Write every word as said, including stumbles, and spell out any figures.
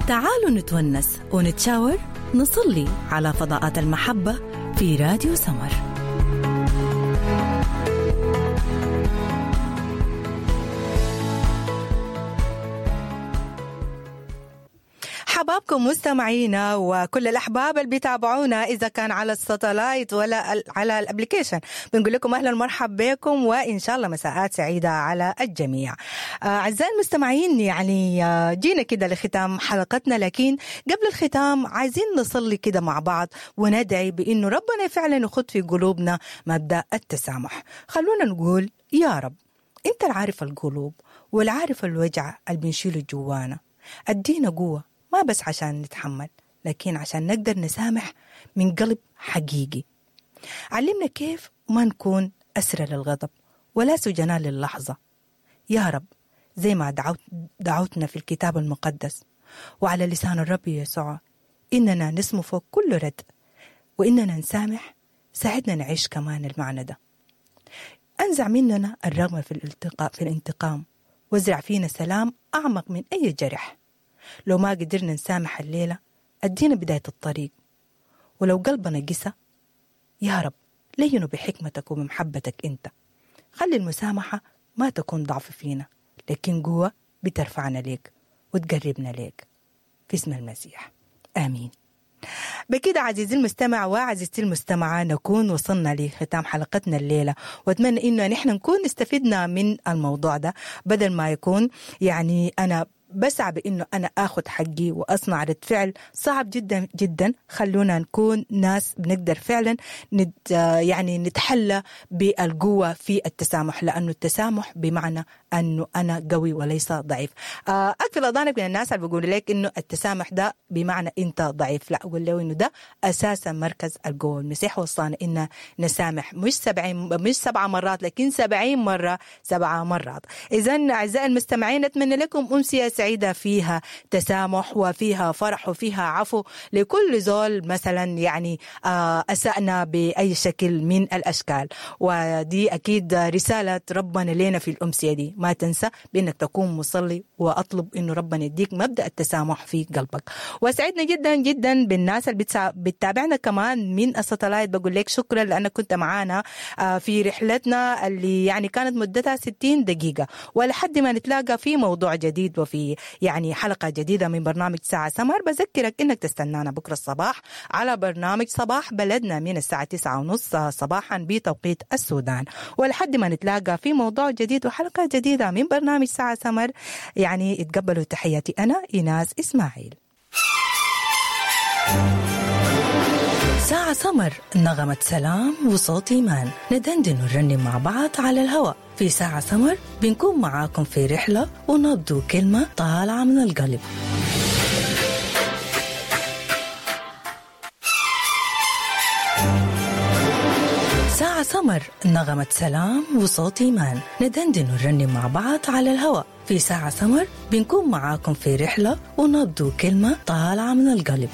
تعالوا نتونس ونتشاور، نصلي على فضاءات المحبة في راديو سمر. حبابكم مستمعينا وكل الأحباب اللي بيتابعونا إذا كان على ال satellite ولا على ال application، بنقول لكم أهلا ومرحبا بكم وإن شاء الله مساءات سعيدة على الجميع. أعزائي المستمعين، يعني جينا كده لختام حلقتنا، لكن قبل الختام عايزين نصلي كده مع بعض وندعي بإنه ربنا فعلا يخط في قلوبنا مبدأ التسامح. خلونا نقول يا رب أنت العارف القلوب والعارف الوجع اللي بنشيله جوانا، أدينا قوة ما بس عشان نتحمل، لكن عشان نقدر نسامح من قلب حقيقي. علمنا كيف ما نكون أسرى للغضب ولا سجناء للحظة يا رب، زي ما دعوت دعوتنا في الكتاب المقدس وعلى لسان الرب يسوع إننا نسمو فوق كل رد وإننا نسامح. ساعدنا نعيش كمان المعنى ده. أنزع مننا الرغبة في الالتقاء في الانتقام، وازرع فينا سلام أعمق من أي جرح. لو ما قدرنا نسامح الليلة أدينا بداية الطريق، ولو قلبنا قسى يا رب لينه بحكمتك وبمحبتك أنت. خلي المسامحة ما تكون ضعف فينا، لكن قوة بترفعنا ليك وتقربنا ليك، في اسم المسيح آمين. بكده عزيزي المستمع وعزيزتي المستمعة نكون وصلنا لختام حلقتنا الليلة، وأتمنى إنه نحن نكون استفدنا من الموضوع ده، بدل ما يكون يعني أنا بسعى بإنه أنا آخذ حقي وأصنع رد فعل صعب جدا جدا. خلونا نكون ناس بنقدر فعلا نت يعني نتحلى بالقوة في التسامح، لأنه التسامح بمعنى أنه أنا قوي وليس ضعيف. أقفل أذانك من الناس اللي بيقولوا لك إنه التسامح ده بمعنى أنت ضعيف، لا، أقول له إنه ده أساسا مركز القوة. المسيح وصانا إن نسامح مش سبعين مش سبعة مرات، لكن سبعين مرة سبعة مرات. إذن أعزائي المستمعين أتمنى لكم أمسية سعيدة فيها تسامح وفيها فرح وفيها عفو لكل زول مثلا يعني أسأنا بأي شكل من الأشكال. ودي أكيد رسالة ربنا لنا في الأمسية دي. ما تنسى بأنك تكون مصلي وأطلب إنه ربنا يديك مبدأ التسامح في قلبك. وسعدنا جدا جدا بالناس اللي بتتابعنا كمان من الساتلايت، بقول لك شكرا لأنك كنت معانا في رحلتنا اللي يعني كانت مدتها ستين دقيقة، ولحد ما نتلاقى في موضوع جديد وفي يعني حلقة جديدة من برنامج ساعة سمر. بذكرك إنك تستنانا بكرة الصباح على برنامج صباح بلدنا من الساعة تسعة ونص صباحا بتوقيت السودان، ولحد ما نتلاقى في موضوع جديد وحلقة جديدة من برنامج ساعة سمر، يعني اتقبلوا تحياتي أنا إيناس إسماعيل. ساعة سمر، نغمة سلام وصوت إيمان، ندندن ونرنم مع بعض على الهواء في ساعة سمر. بنكون معاكم في رحلة ونبدو كلمة طالعة من القلب. ساعة سمر، نغمة سلام وصوت إيمان، ندندن ونرنم مع بعض على الهواء في ساعة سمر. بنكون معاكم في رحلة ونبدو كلمة طالعة من القلب.